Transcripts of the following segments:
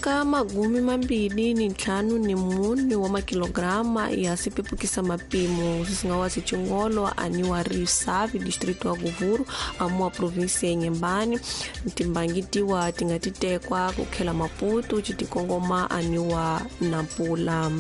Ka 24 wa makilograma ya sipepukisa mapimo swisinga wa swichingolo aniwa Risavi district wa Govuro amuwa province ya Inhambane timbangi tiwa ti nga ti tekwa ku khela Maputo citikongoma aniwa Nampula.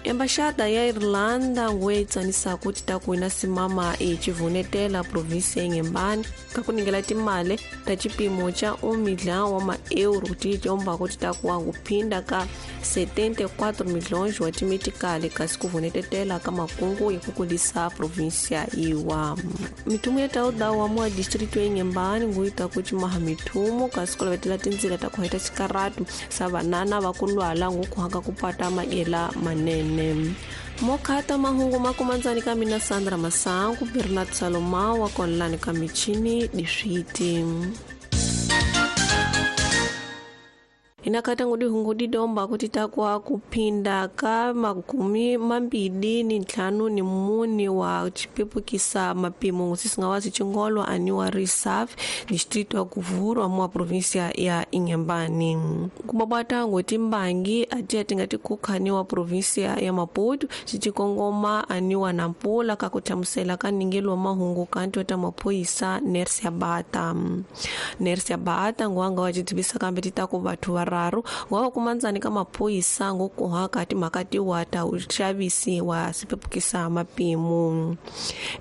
Embaxada ya Irlanda nguwe yi tsanisaka ti ta ku na simama i civunetela province ya Inhambane ka ku ningela timali ta cipimo ca 1 milhão wa maeuro ti combako ti ta ku wa kuphinda ka 74 milhões wa timetikali kasi ku vunetetela ka makungu ya ku kulisa provinsia iwa. Mithumo ya tauda wa mua distrito ya Inhambane nguyi ta ku cimaha mithumo kasi ku lavetela tindzila ta ku heta xikaratu sa vanana va ku lwala ngukuhaka ku pata madyela manene. Mokhata mahungu makumandzani ka mina Sandra Masangu, Bernard Salomao wa konlani ka michini diswiti. Inakata ngudi hungu didomba kuti takwa kuphinda ka 24 wa chipepukisa mapimo sisinga wa sichingolo aniwa Reserve distrito ya Govuro amwa provincia ya Inhambane. Kubabata ngoti mbangi atia tingati kukhaniwa provincia ya Maputo chichikongoma aniwa Nampula kakuthamusela kaningelo mahungu kanti ta maphoyisa Nersia Bata. Nersia Bata ngwanga wa chitibisa kambe titaku bathu vararu ngwava kumanzani ka maphoyisa ngokuhaka timhaka wa ta uxavisi wa sipepukisa mapimo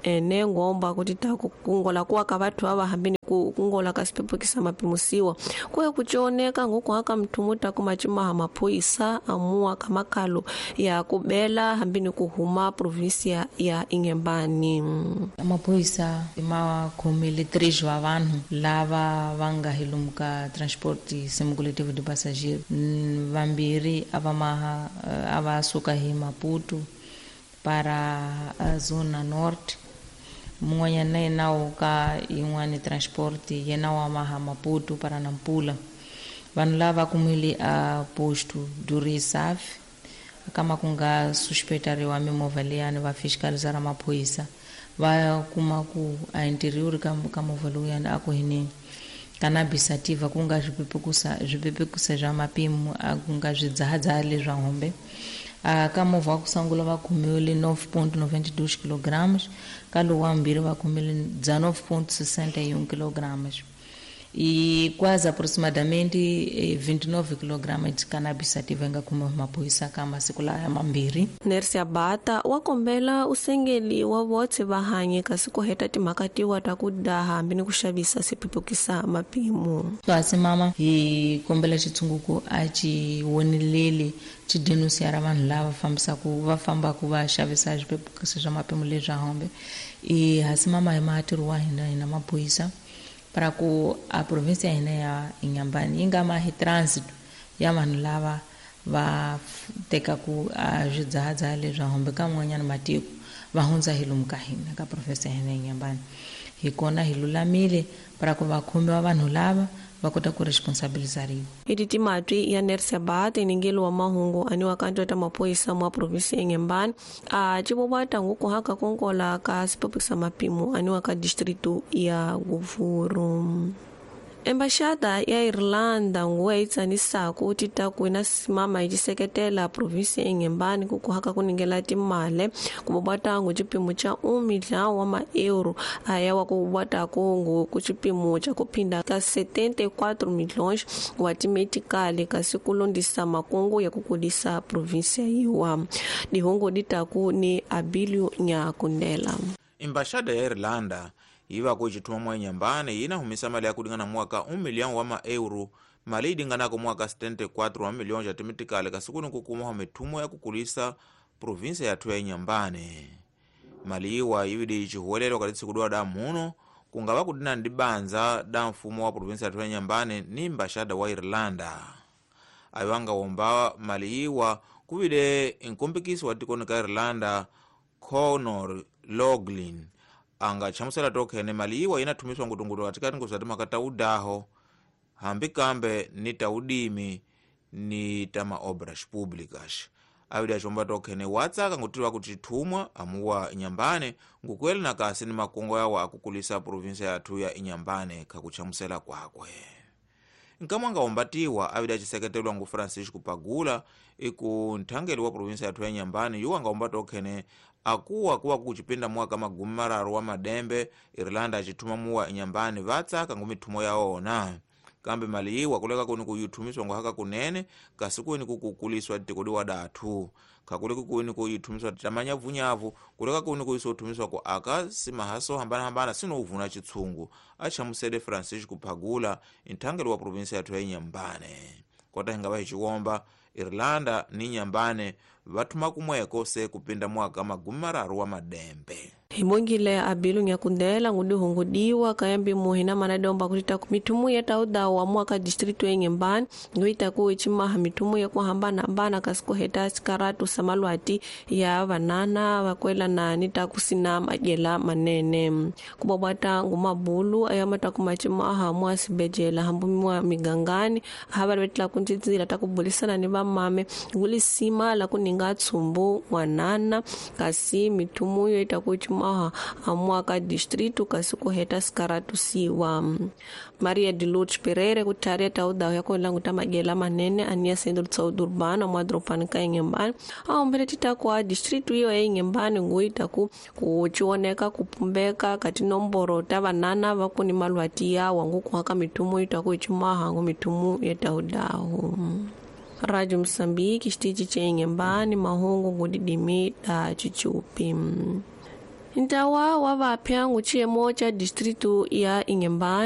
ene ngomba kuti ta kungola kuwa ka vathu ava hambini ku kungola ka sipepukisa mapimo siwa kuya kuchoneka ngokuhaka mthumu ta kumachimaha maphoyisa amuwa ka makalo ya kubela hambini kuhuma provinsia ya Inhambane. Maphoyisa ma khomile 3 wa vanhu lava va nga hi lomu ka transport simulativo de passageiro vambirhi a va maha a va suka hi Maputo para a zona norte, mun'wanyana na yena wo ka yin'wani transport yena wa maha Maputo para Nampula. Vanhu lava kumile a posto do Reserve kama ku nga suspectariwa mimovha liyani va fiscalizara maphoyisa va kuma ku a interior ka movha lowuyani a ku hineni cannabis sativa ku nga swipepekusa swa mapimo a ku nga swidzahadzaha leswa hombe. Ka movha wa ku sungula va khomiwile 9.92 kilograms, ka lowu wa mbirhi va khomile 19.61 kilograms e quase aproximadamente 29 kg de cannabis sativa nga kuma maphoyisa ka masiku laya mambirhi. Nersia Bata wa kombela usengeli wa votse va hanye kasi ku heta timhaka tiwa ta ku daha hambi ni ku xavisa sipepukisa mapimo. Kasi mama hi kombela xitshunguku a xi woneleli xi denunciara vanhu lava fambisaka va fambaka va xavisa swipepukisa swa mapimo leswa hombe. I hasi mama hi matirho wa hina hina maphoyisa para ku a província hina ya Inhambane yi nga mahi trânsito ya vanhu lava va tekaku a swidzahadzaha leswa hombe ka man'wanyana matiko va hundza hi lomu ka hina ka província hina ya Inhambane. Hi kona hi lulamile para ku va khomiwa vanhu lava va kota ku responsabilizariwa. Iti timatwi ya Nersia Bata iningelo wa mahungu aniwa kanto ta maphoyisa mwa provinsi ya Inhambane a civovata ngukuhaka konkola ka sipepukisa mapimo aniwa ka distrito ya Govuro. Embaxada ya Irlanda nguwe yi tsanisaka ti ta ku na simama yi seketela provinsi ya Inhambane ku kuhaka ku ningela timali ku bobata ngo xipimo xa 1 milhão wa maeuro aya wa ku bobata ku ku xipimo xa ku phinda ka 74 milhões wa timetikali kasi ku londisa makungu ya ku kulisa provinsi yiwa. Dihungu di ta ku ni Abilio Nyakundela. Embaxada ya Irlanda iva ku xithuma mwa Inhambane yina humisa mali ya ku lingana mwaka 1 milhão wa maeuro mali yi linganaka mwaka 74 wa milhões ya timitikali kasi kuni ku kuma mithumo ya ku kulisa provinsia yathu ya Inhambane. Mali iwa yividi ichihuwelelwa kati tsiku da muno kungava kudina ndi banza da mfumo wa provinsia yathu ya Inhambane ni embaxada wa Irlanda. Ayo angawomba mali iwa kuvile nkombekiso wa tikoni ka Irlanda Conor Loughlin anga chamusela tokhene mali iwa inathumiswa ngutungutu katikati ngozati makata udaho hambi kambe ni taudimi ni tama obras públicas. Awidi achomba tokhene watsaka ngutiliwa kuti thumwa amuwa Inhambane ngukwele na kasi ni makongo yawo akukulisa provinsia yathu ya Inhambane khakuchamusela kwakwe. Nkamwe anga ombatiwa avida aciseketelwa ngu Francisco Pagula iku nthangeli wa provinsia yathu ya Inhambane, yuwo anga ombata okhene akuwa kuwa kucipinda mwaka 30 wa madembe Irlanda acithuma muwa Inhambane vatsaka ngu mithumo yaona. Kambe mali iwa kuleka kuni kuyithumiswa nguhaka kunene kasi kuni kukukuliswa tikodi wa dathu khakuleka kuni kuyithumiswa tamanyavunyavu kuleka kuni kuyisothumiswa ku aka simahaso hambanahambana sinouvuna chitsungu, achamusele Francisco Pagula nthangeli wa provinsia yathu ya Inhambane. Kota hingava hiciwomba Irlanda ni Inhambane vathuma kumweko se kupinda mwaka 30 wa madembe. Himongile abilu nyakundela ngudihungudiwa kayambi muhina manadomba kutita mithumu yataudawa mwaka distrito ya Inhambane ngoitaku ichimaha mithumu yakuhambana-hambana kasi kuheta sikaratu samalwati ya vanana vakwelana ni takusina madyela manene kubwabwata ngumabulu ayamataku machimaha mwa sibejela hambu mwa migangani havalivetela kuntsitsila takubulisana ni vamame ngulisima la kuninga tsumbu n'wanana kasi mithumu yo itaku ichimaha amwaka distrito kasi kuheta sikaratusiwa. Maria de Lourdes Pereira kutharia taudawu yakulanguta madyela manene aniya centro de saúde urbana mwa dropani ka Inhambane aombele titaku a distrito iyo ya Inhambane nguitaku kucioneka kupumbeka ka tinomboro ta vanana vakuni malwati yawa ngukuhaka mithumu itaku ichimaha ngu mithumu ya taudawu. Rádio Moçambique, xitichi ca Inhambane, mahungu ngudidimi da chichupi. Ntawa wa vapya nguciyemo ca distrito ya Inhambane.